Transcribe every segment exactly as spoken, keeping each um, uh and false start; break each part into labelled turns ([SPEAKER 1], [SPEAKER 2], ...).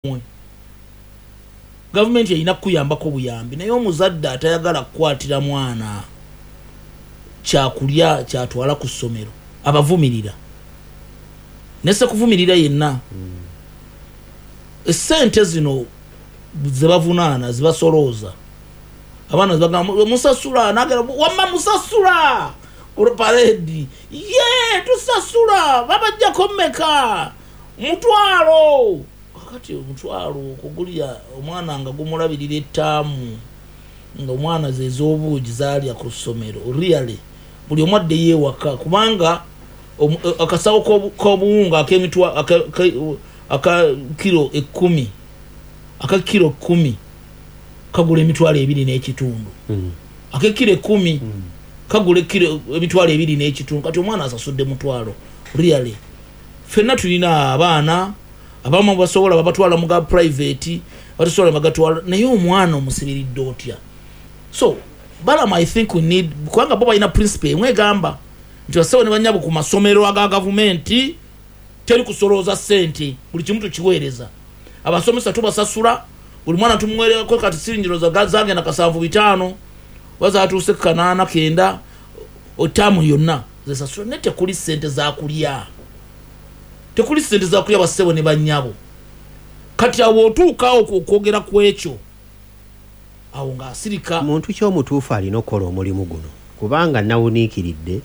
[SPEAKER 1] Mmwe, gavumenti erina kukuyambako buyambi, naye omuzadde atayagala kukwatira mwana kyakulya kyatwala ku ssomero, abavumirira nese kuvumirira yenna. Esente zino zebavunaana, zibasolooza abaana, zibagamba musasula, nagera wamma musasula paredi ye tusasula, babajjako mmeka? Mutwalo. Kakati omutwalo okugulya omwana nga gumulabirira ettaamu, nga omwana zez'obuugi zaalya ku ssomero, really buli omu addeyo ewaka, kubanga akasawo k'obuwunga ak'emitwa aka kiro ekkumi aka kiro kkumi kagula emitwalo ebiri n'ekitundu mm. Ak'ekiro ekkumi mm. kagula emitwalo ebiri n'ekitundu. Kati omwana asasudde mutwalo. Really, ffenna tulina abaana, abamu basobola babatwala mu ga private, batasobola bagatwala, naye omwana omusibiridde otya? So Balaam, I think we need, kubanga bo balina principle emwe egamba nti bassebo ne bannyabo, ku masomero aga gavumenti teri kusolooza ssente, buli kimu tukiweereza, abasomesa tubasasula, buli mwana tumuwereko. Kati siringiro zagenda kasanvu bitaano, bazatuuse kanaana kenda, otaamu yonna zesasula, naye tekuli ssente zakulya, tekuli ssente zakulya, bassebo ne bannyabo. Kati awo otuukawo okwogera ku ekyo, awo ng'asirika.
[SPEAKER 2] Muntu kyomutuufu alina okukola omulimu guno, kubanga nawuniikiridde,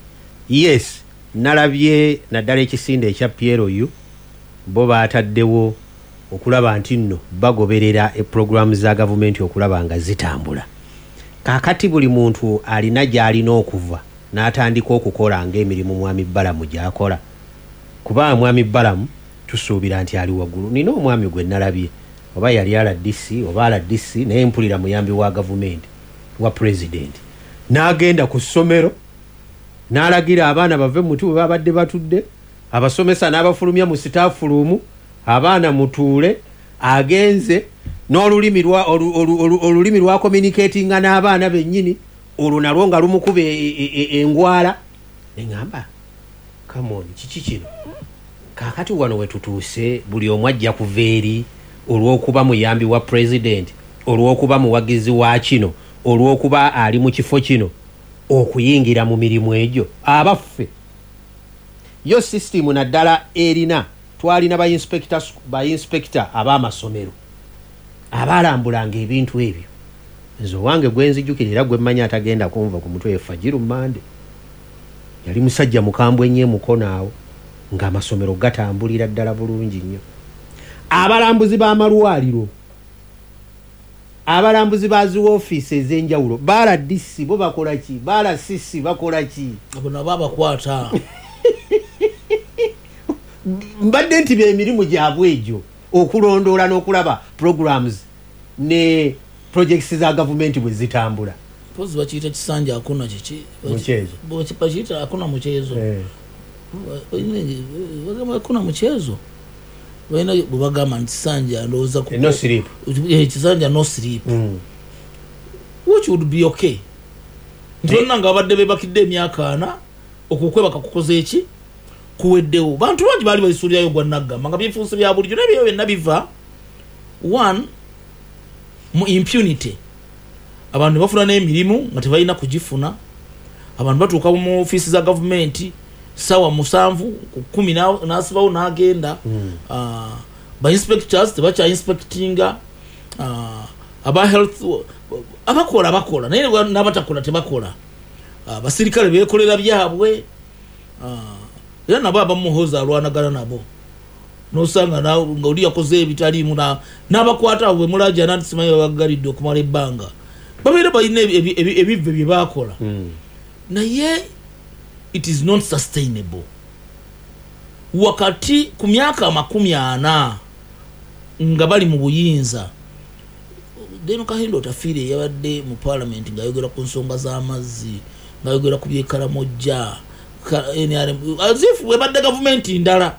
[SPEAKER 2] yes, nalabye naddala ekisinde ekya P L U, bo baataddewo okulaba nti nno bagoberera epuroguramu za gavumenti okulaba nga zitambula. Kaakati buli muntu alina gy'alina okuva n'atandika okukola ng'emirimu mwami Balamu gy'akola, kubanga mwami Balamu tusuubira nti ali waggulu. Nina omwami gwe nalabye, oba yali R D C oba R D C, naye mpulira muyambi wa gavumenti wa pulezidenti, n'agenda ku ssomero n'alagira abaana bave muti bwe babadde batudde, abasomesa n'abafulumya mu staff room, abaana mutuule. Agenze n'olulimi olulimi lwa communicatinga n'abaana bennyini, olwo nalwo nga lumukuba e, e, e, engwala. Neŋŋamba, come on, kiki kino? Kaakati wano wetutuuse, buli omu ajja kuva eri olw'okuba muyambi wa pulezidenti, olw'okuba muwagizi wa kino, olw'okuba ali mu kifo kino, okuyingira mu mirimu egyo. Abaffe, yo sisitimu naddala erina, twalina ba inspector ab'amasomero abalambulanga ebintu ebyo. Nze owange gwenzijukira era gwe mmanyi atagenda kunva ku mutwe, Fajiru Mande. Yali musajja mukambwe ennyo emukono awo, ng'amasomero gatambulira ddala bulungi nnyo. Abalambuzi b'amalwaliro, abalambuzi ba zi woofiisi ez'enjawulo, ba R D C bo bakola ki? Ba R C C bakola ki?
[SPEAKER 1] Abo nabo abakwata.
[SPEAKER 2] Mbadde nti byemirimu gyabwe egyo, okulondoola n'okulaba programs ne projects za gavumenti bwe zitambula.
[SPEAKER 1] Mpozi bakiyita kisanja akuna kiki?
[SPEAKER 2] Mchezo.
[SPEAKER 1] Bakiyita akuna mchezo.
[SPEAKER 2] Eh.
[SPEAKER 1] Bagamba akuna mchezo, balina bwe bagamba nti kisanja, ndowooza ku-
[SPEAKER 2] No sleep.
[SPEAKER 1] Eh, kisanja no sleep,
[SPEAKER 2] Mm.
[SPEAKER 1] which would be okay, nti bonna nga babadde bebakidde emyaka ana, okwo okwebaka kukoze eki? Kuweddewo. Bantu bangi baali baisuulirayo gwa naggamba nga byefuuse bya bulijjo, naye byo byonna biva one mu impunity. Abantu ne bafuna n'emirimu nga tebalina kugifuna. Abantu batuuka mu ofiisi za gavumenti sawa musanvu ku kumi na- n'asibawo n'agenda. Ah, ba inspectors tebakya inspectinga, Ah, aba health abakola bakola, naye n'abatakola tebakola. Ah, abasirikale bekolera byabwe. Ah, era nabo abamuhoza alwanagana nabo, nosanga na- nga oli yakoze ebitaliimu, na- n'abakwata abo bwemulajana nti simanyi babagalidde okumala ebbanga, babeera balina ebi- ebi- ebi- ebivve bye bakola,
[SPEAKER 2] Mm.
[SPEAKER 1] naye it is not sustainable. Wakati ku myaka amakumi ana nga bali mu buyinza, Deno Kahinda Otafiire yabadde mu parliament ng'ayogera ku nsonga z'amazzi, ng'ayogera ku byekalamojja, ka- N R M, as if bwebadde gavumenti ndala,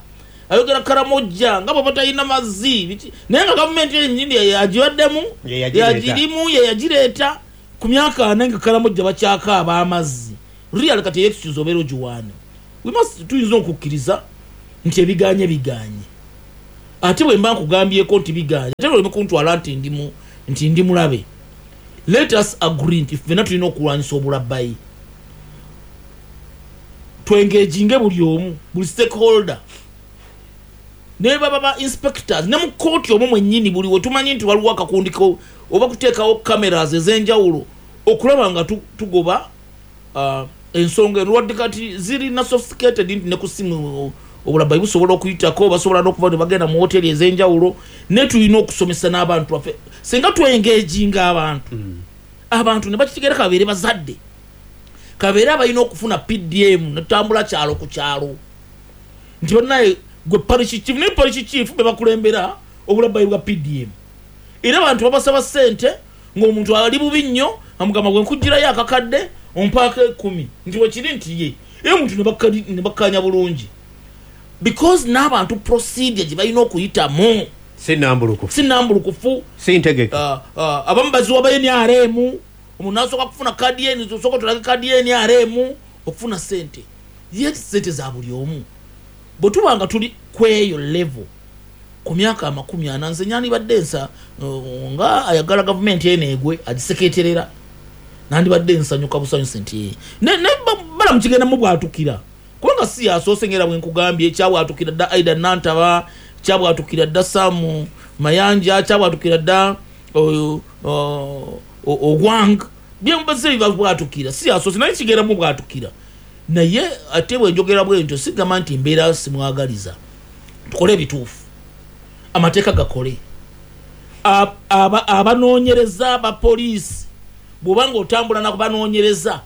[SPEAKER 1] ayogera Karamojja nga bwe batalina mazzi biki, naye nga gavumenti yenyini agibaddemu,
[SPEAKER 2] Ye yagireeta.
[SPEAKER 1] Yagirimu, ye yagireeta. Ku myaka ana nga Karamojja bakyakaaba amazzi. Real kati excuse obeera ogiwaane? We must, tuyinza okukkiriza nti ebiganye biganye. Ate bwe mba nkugambyeko nti biganja, ate oleme kuntwala nti ndi mu- nti ndi mulabe. Let us agree nti ffenna tulina okulwanyisa obulabbayi, twengaginge buli omu, buli stakeholder, ne baba ba inspectors ne mu kooti omwo mwennyini. Buli we tumanyi nti waliwo akakundi ko oba kuteekawo cameras ez'enjawulo okulaba nga tu- tugoba uh, ensonga eno. Wadde kati zirina sophisticated nti ne ku simu obulabbayi busobola okuyitako, basobola n'okuva ne bagenda mu hoteri ez'enjawulo, ne tulina okusomesa n'abantu baffe. Singa twengaginga abantu, abantu ne bakitegera, kabeere bazadde, kabeere abalina okufuna P D M, netutambula kyalo ku kyalo nti bannaye gwe parish chief, naye parish chief be bakulembera obulabbayi bwa P D M, era abantu babasaba ssente ng'omuntu ali bubi nnyo, amugamba gwe nkugirayo akakadde ompaako ekumi, nti wekiri nti ye, era omuntu ne bakka- ne bakkanya bulungi, because n'abantu procedure gye balina okuyitamu
[SPEAKER 2] si nambulukufu,
[SPEAKER 1] si nambulukufu,
[SPEAKER 2] si ntegeke.
[SPEAKER 1] uh, uh, abamu baziwa ba N R M, omuntu nasooka kufuna kadi ye, osooka otulage kadi ye N R M okufuna sente, ye sente za buli omu. Bwe tuba nga tuli kweyo level ku myaka amakumi ana, nze nyandibadde nsa uh, nga ayagala gavumenti eno egwe agiseketerera, nandibadde nsanyuka busanyusi nti ne, ne ba- Balamu kigenda mubwatukira, kubanga si yasoose. Ngera bwe nkugambye, kyabwatukira dda Aida Nantaba, kyabwatukira dda Samu Mayanja, kyabwatukira dda oyo, o- o- ogwang byembase bibabwatukira, si yasoose, naye kigenda mubwatukira. Naye ate bwe njogera bwe ntyo, sigamba nti mbeera simwagaliza. Tukole ebituufu, amateeka gakole. Ab- aba- abanoonyereza abapoliisi, bw'oba nga otambula nakubanoonyereza,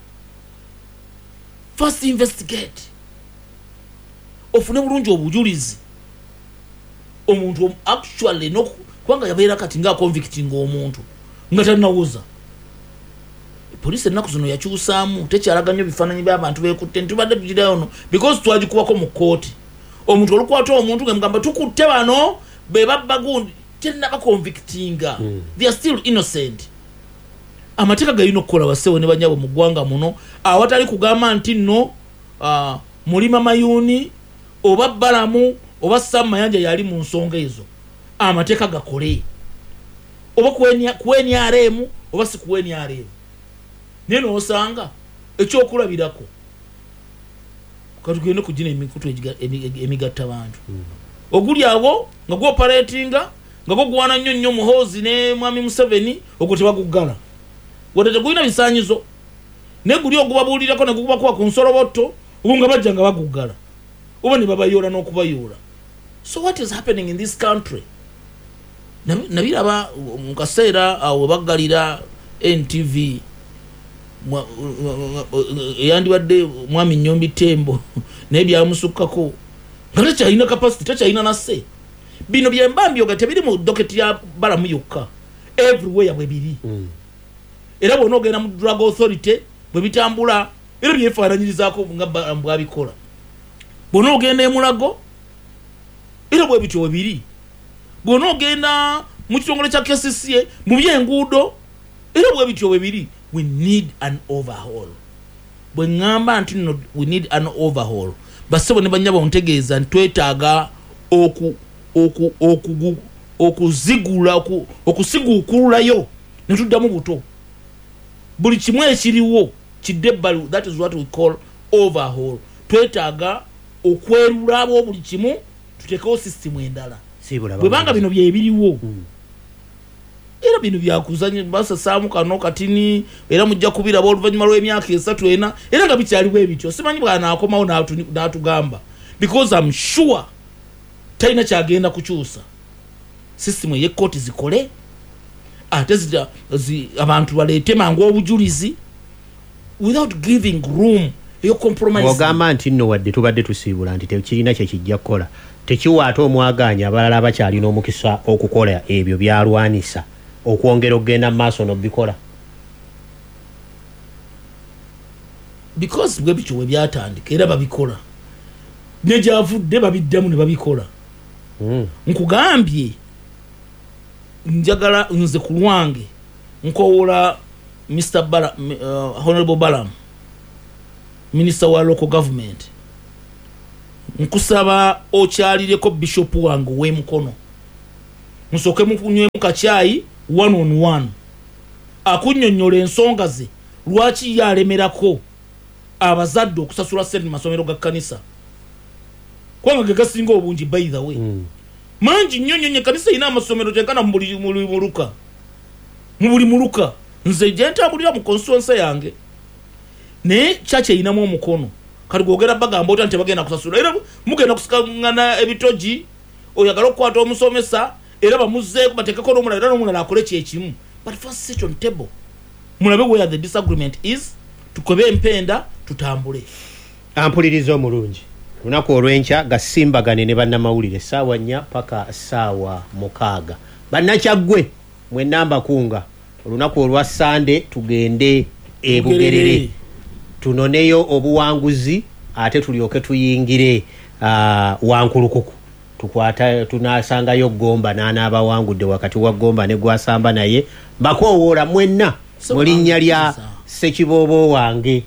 [SPEAKER 1] first investigate, ofune bulungi obujulizi omuntu omu- actually noku- kubanga yabeera kati nga convicting omuntu nga talinawoza. Poliisi ennaku zino yakyusaamu, tekyalaga nnyo bifaananyi by'abantu bekutte. Ntubadde tugirayo no because twagikubako mu kooti, omuntu olukwata omuntu nga mugamba tukutte bano be babba gundi, tenaba convictinga, they are still innocent. Amateeka galina okukola, basewo ne banyabo mu ggwanga muno, awatali kugamba nti nno uh, Mulima Mayuuni oba Balamu oba Sam Mayanja yali mu nsonga ezo. Amateeka gakole, oba ku N R M oba si ku N R M. Naye nosanga ekyokulabirako, katugende kugina emikutu egiga- emi- emigatta bantu, oguli awo nga gwoperatinga nga gugwana nnyo nnyo Muhoozi ne mwami Museveni, ogwo tebaguggala wadde tegulina bisanyizo, naye guli ogubabuulirako ne gukubakuba ku nsolobotto, ogwo nga bajja nga baguggala oba ne babayoola n'okubayoola. So what is happening in this country? Nabi- nabiraba mu kaseera awo baggalira N T V, mwa- eyandibadde mwami Nyombi Tembo, naye byamusukkako nga takyalina capacity, takyalina nasse. Bino byemba mbyoga tebiri mu docket ya Balamu yokka, everywhere bwe biri. Era bwona ogenda mu drug authority bwe bitambula, era byefaananyirizaako nga Balamu bwabikola. Bwona ogenda emulago, era bwe bityo bwe biri. Bwona ogenda mu kitongole kya K C C A mu byenguudo, era bwe bityo bwe biri. We need an overhaul. Bwe ŋŋamba nti nno we need an overhaul, bassebo ne bannyabo, ntegeeza nti twetaaga oku oku okugu okuzigula oku- okusiguukululayo ne tuddamu buto, buli kimu ekiriwo kidde ebbali. That is what we call overhaul. Twetaaga okwerulabo buli kimu, tuteekewo sisitimu endala.
[SPEAKER 2] Siibula.
[SPEAKER 1] Bwebanga bino byebiriwo, era bino byakuzanya, basasaamu kano katini, era mujja kubiraba oluvannyuma lw'emyaka esatu ena, era nga bikyaliwo ebityo. Simanyi bwanaakomawo n'atu- n'atugamba, because am sure talina kyagenda kukyusa. Sisitimu ey'ekkooti zikole, ate zita- zi- abantu baleete mangu obujulizi without giving room eyo compromise.
[SPEAKER 2] Ogamba nti nno wadde tubadde tusiibula nti tekirina kyekijja kukola, tekiwa ate omwagaanya abalala abakyalina omukisa okukola ebyo byalwanisa okwongera okugenda mu maaso n'obikola.
[SPEAKER 1] Because bwe bityo bwe byatandika, era babikola, ne gyavudde babiddamu ne babikola.
[SPEAKER 2] Mm.
[SPEAKER 1] Nkugambye, njagala nze ku lwange nkowoola Mister Bala, uh, honorable Balam, minisita wa local government, Nkusaba okyalireko bishop wange ow'emukono, musooke munywemu kacyayi one on one, akunnyonnyola ensonga ze lwaki ye alemerako abazadde okusasula ssente mu masomero ga kkanisa, kubanga ge gasinga obungi. By the way,
[SPEAKER 2] Mm.
[SPEAKER 1] mangi nnyo nnyo nnyo. Ekkanisa erina amasomero kyenkana mu buli mu buli muluka, mu buli muluka nze gye ntambulira mu constituency yange, naye kyaki erinamu omukono. Kati gwogera bagamba otya nti bagenda kusasula, era mugenda kusikangana ebitogi, oyagala okukwata omusomesa era bamuzeeko bateekeko n'omulala, era n'omulala akole kyekimu. But first sit on table, mulabe where the disagreement is, tukube empenda tutambule.
[SPEAKER 2] Ampuliriza omulungi, lunaku olw'enkya gasimbagane ne bannamawulire essaawa nnya paka ssaawa mukaaga. Bannakyaggwe mwenna mbakunga, olunaku olwa Sande tugende e Bugerere tunoneyo obuwanguzi, ate tulyoke tuyingire uh, Wankulukuku, tukwata tunasangayo Gomba n'anaabawangudde wakati wa Gomba ne Gwasamba. Naye mbakoowoola mwenna mu linnya lya Ssekiboobo wange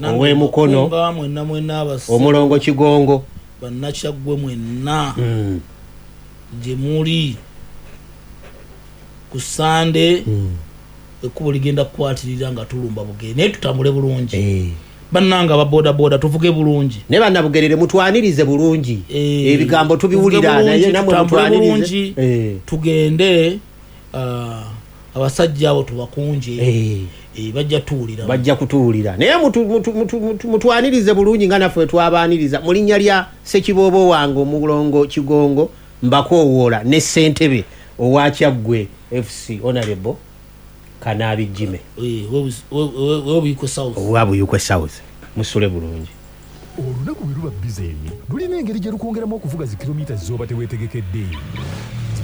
[SPEAKER 2] ow'emukono,
[SPEAKER 1] Nga mwenna mwenna abase
[SPEAKER 2] omulongo Kigongo,
[SPEAKER 1] bannakyaggwe mwenna
[SPEAKER 2] mm.
[SPEAKER 1] gye muli ku Sande,
[SPEAKER 2] Mm.
[SPEAKER 1] ekkubo ligenda kukwatirira nga tulumba Bugere, naye tutambule bulungi.
[SPEAKER 2] Eh.
[SPEAKER 1] Bannanga aba bodaboda, tuvuge bulungi.
[SPEAKER 2] Naye bannabugerere mutwanirize bulungi.
[SPEAKER 1] Eh,
[SPEAKER 2] ebigambo tubiwulira,
[SPEAKER 1] tuvuge
[SPEAKER 2] naye
[SPEAKER 1] bulungi,
[SPEAKER 2] namwe
[SPEAKER 1] tutambule
[SPEAKER 2] mutwanirize.
[SPEAKER 1] bulungi.
[SPEAKER 2] Eh.
[SPEAKER 1] Tugende, ah, abasajja abo tubakunje.
[SPEAKER 2] Eh.
[SPEAKER 1] Eh, bajja tuwulira.
[SPEAKER 2] Bajja kutuwulira, naye mutu- mutu- mutu- mutu- mutwanirize bulungi nga naffe twabaaniriza. Mu linnya lya Ssekiboobo wange omulongo Kigongo mbakoowoola, ne ssentebe owa Kyaggwe F C, Honorable Kanaabi Jime.
[SPEAKER 1] Eh, webuyikwe South.
[SPEAKER 2] Owa Buyukwe South. Musule bulungi.
[SPEAKER 3] Olunaku bwe luba busy, lulina engeri gye lukwongeramu okuvuga zi kilomita z'oba teweetegekedde,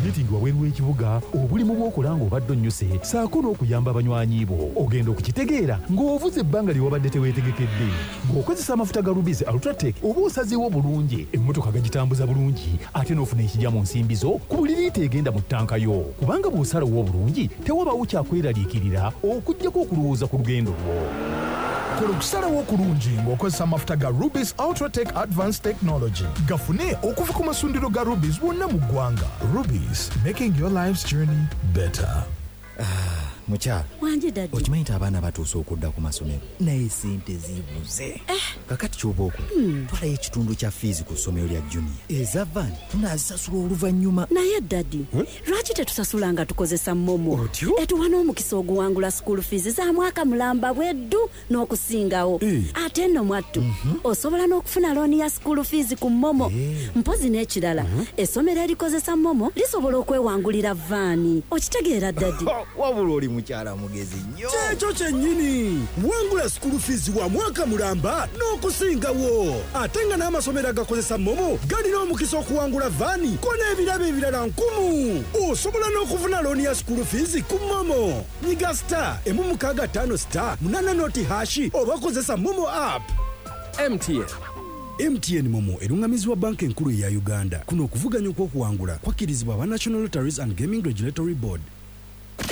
[SPEAKER 3] meeting wabweru w'ekibuga, obulimu bw'okola ng'obadde onnyuse, ssaako n'okuyamba abanywanyi bo. Ogenda okukitegeera ng'ovuze ebbanga lye wabadde teweetegekedde. Ng'okozesa amafuta ga Rubis Ultratec, oba osazeewo bulungi, emmotoka gagitambuza bulungi, ate n'ofuna ekijja mu nsimbi zo ku buli liita egenda mu ttanka yo, kubanga bw'osalawo obulungi tewabaawo kyakweraliikirira okuggyako okulowooza ku lugendo lwo.
[SPEAKER 4] Kola okusalawo okulungi ng'okozesa amafuta ga Rubis Ultratec Advanced Technology. Gafune okuva ku masundiro ga Rubis wonna mu ggwanga. Rubis, making your life's journey better.
[SPEAKER 5] Mukyala.
[SPEAKER 6] Wangi daddy.
[SPEAKER 5] Okimanyi nti abaana batuuse okudda ku masomero, naye sente zibuze. Kakati kyoba okola, twalayo ekitundu kya fiizi ku ssomero lya junior, eza van tunaazisasula oluvannyuma.
[SPEAKER 6] Naye daddy, lwaki tetusasula nga tukozesa MoMo?
[SPEAKER 5] Otyo?
[SPEAKER 6] Etuwa n'omukisa oguwangula school fees za mwaka mulamba bweddu n'okusingawo.
[SPEAKER 5] Eh.
[SPEAKER 6] Ate nno mwattu, osobola n'okufuna looni ya school fees ku MoMo. Mpozi n'ekirala, essomero erikozesa MoMo lisobola okwewangulira vaani. Okitegeera daddy?
[SPEAKER 5] Wabula oli mukyala mugezi nnyo.
[SPEAKER 7] Kyekyo kyennyini, wangula school fees wa mwaka mulamba n'okusingawo, ate nga n'amasomero agakozesa MoMo galina omukisa okuwangula vaani ko n'ebirabo ebirala nkumu. Osobola n'okufuna looni ya school fees ku MoMo. Nyiga star emu mukaaga ttaano star munana noti hash oba kozesa MoMo app.
[SPEAKER 8] M T N.
[SPEAKER 7] M T N MoMo eruŋŋamizibwa Banka Enkulu eya Uganda. Kuno okuvuganya okw'okuwangula kwakkirizibwa aba National Lotteries and Gaming Regulatory Board.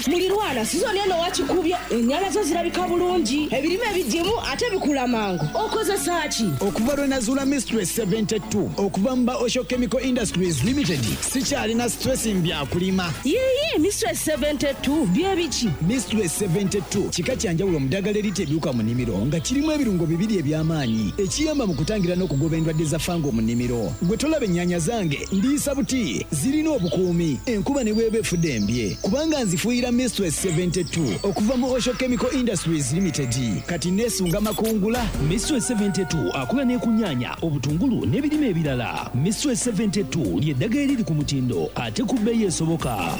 [SPEAKER 9] Mulirwana, sizoni eno wakikubye, ennyana zo zirabika bulungi, ebirime bigimu ate bikula mangu. Okozesa ki?
[SPEAKER 10] Okuva lwe nazuula Mistress seventy-two okuva mu ba Osho Chemical Industries Limited, sikyalina stress mbyakulima.
[SPEAKER 9] Yiyi, Mistress seventy-two bye biki?
[SPEAKER 10] Mistress seventy-two kika kya njawulo mu ddagala erita ebiwuka mu nnimiro, nga kirimu ebirungo bibiri eby'amaanyi ekiyamba mu kutangira n'okugoba endwadde za fango mu nnimiro. Gwe tolaba ennyaanya zange ndiisa buti, zirina obukuumi enkuba ne bw'eba efudde embye, kubanga nzifuuyira Mistress seventy-two okuva mu Osho Chemical Industries Limited. Kati neesunga makungula.
[SPEAKER 11] Mistress seventy-two akola ne ku nnyaanya, obutungulu n'ebirime ebirala. Mistress seventy-two ly'eddagala eriri ku mutindo ate ku bbeeyi esoboka.